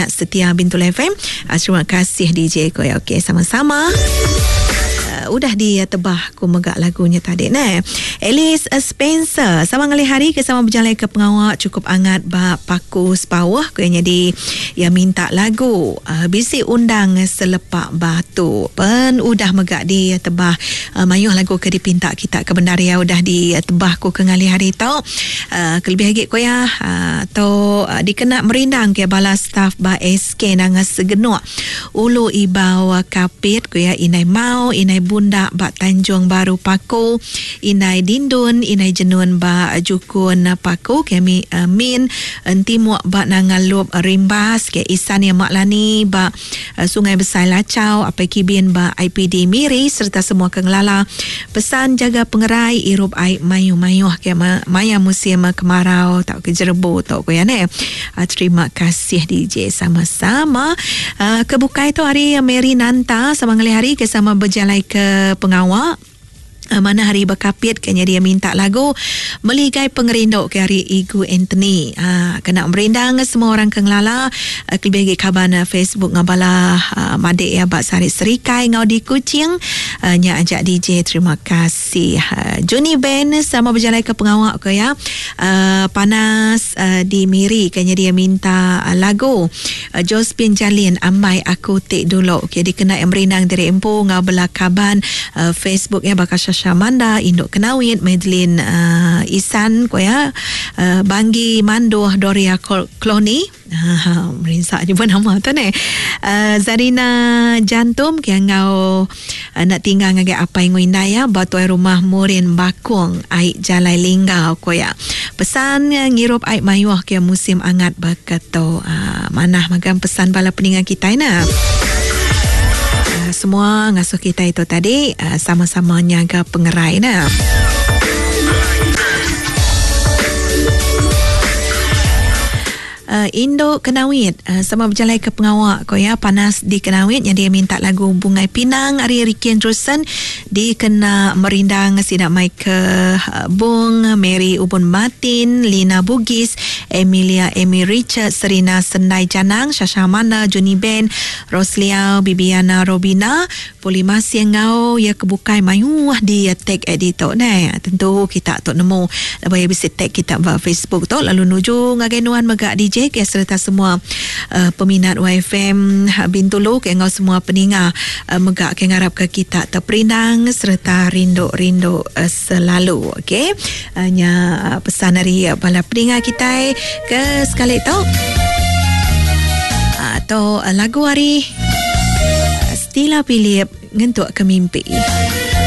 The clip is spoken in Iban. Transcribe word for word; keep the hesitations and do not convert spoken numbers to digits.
Setia Bintulu F M. Uh, terima kasih D J ko ya. Okey, sama-sama. Uh, udah ditebah ku megak lagunya tadi ne. Alice Spencer sama ngalih hari ke sama berjalan ke pengawak cukup angat ba Paku Sepawah ku yang jadi yang minta lagu uh, bisi undang selepak batu. Pen udah megak ditebah uh, mayuh lagu ke dipinta kita ke bendar ya udah ditebah ku ke ngalih hari tu. Uh, kelebih lagi ku ya uh, tu uh, dikena merindang ke bala staff ba S K Nanga Segenuk Ulu Ibau Kapit ku ya Inai Mau Inai Bunda ba Tanjung Baru Paku, Inai Dindun, Inai Jenun ba Jukun Paku, kami uh, Min Entimuk ba Nangalup Rimbas, ke Isan yang Mak Lani ba uh, Sungai Besai Lacau, Apai Kibin ba I P D Miri serta semua ke ngelala. Pesan jaga pengerai irup air mayu-mayuh ke ma- maya musim kemarau tau ke jerebu tau ke ya ne. Uh, terima kasih D J sama-sama. Uh, kebukai tu hari Mary Nanta sama ngalih hari ke sama berjalan ke pengawak. Uh, mana hari berkapit kayaknya dia minta lagu Meligai Pengerindu ke hari Igu Anthony. Ha, kena merindang semua orang ke ngelala uh, kelebih lagi kaban uh, Facebook ngabala uh, madik ya bak Sari Serikai ngau di Kuching. Uh, nya ajak D J terima kasih. Uh, Juni Ben sama berjalan ke pengawak ke ya. Uh, panas uh, di Miri kayaknya dia minta uh, lagu uh, Josephine Jalin Ambai Aku Tik Dulu. Okey dikena yang merindang dari empu ngau bela kaban uh, Facebook ya bakal Syamanda, Induk Kenawit, Madeline uh, Isan ko ya, uh, Banggi Manduh Doria Kloni. Ha, merinsak je pun nama tu ni. Uh, Zarina Jantum ke ngau uh, nak tinggal ngagai apa yang indah ya, batu air rumah Murin Bakung, air Jalai Linggau ko ya. Pesan uh, ngirup air mayuh ke musim angat berketo. Uh, manah magam pesan bala peningan kita ina. Semua ngasuh kita itu tadi uh, sama-sama nyaga pengerai nah. Uh, Indo Kenawit uh, sama berjalan ke pengawak ko ya panas di Kenawit yang dia minta lagu Bungai Pinang ari Ricky Andrewson dikena merindang sidak Michael uh, Bung Mary Ubun Martin Lina Bugis Emilia Amy Richard Serina Sendai Janang Shasha Amanda Juni Ben Roslia Bibiana Robina Polimasi ngau ya kebukai mayuh di tag editor ne tentu kita tok nemu lepas bisa tag kita ba Facebook tu lalu nuju ngagai nuan megak D J ke serta semua uh, peminat Y F M Bintulu ke ngau semua peninga uh, megak ke ngarap ke kita terperindang serta rindu-rindu uh, selalu okey uh, nya uh, pesan dari uh, bala peninga kita ke sekali tu atau uh, lagu hari uh, Stila Philip ngentuk ke mimpi.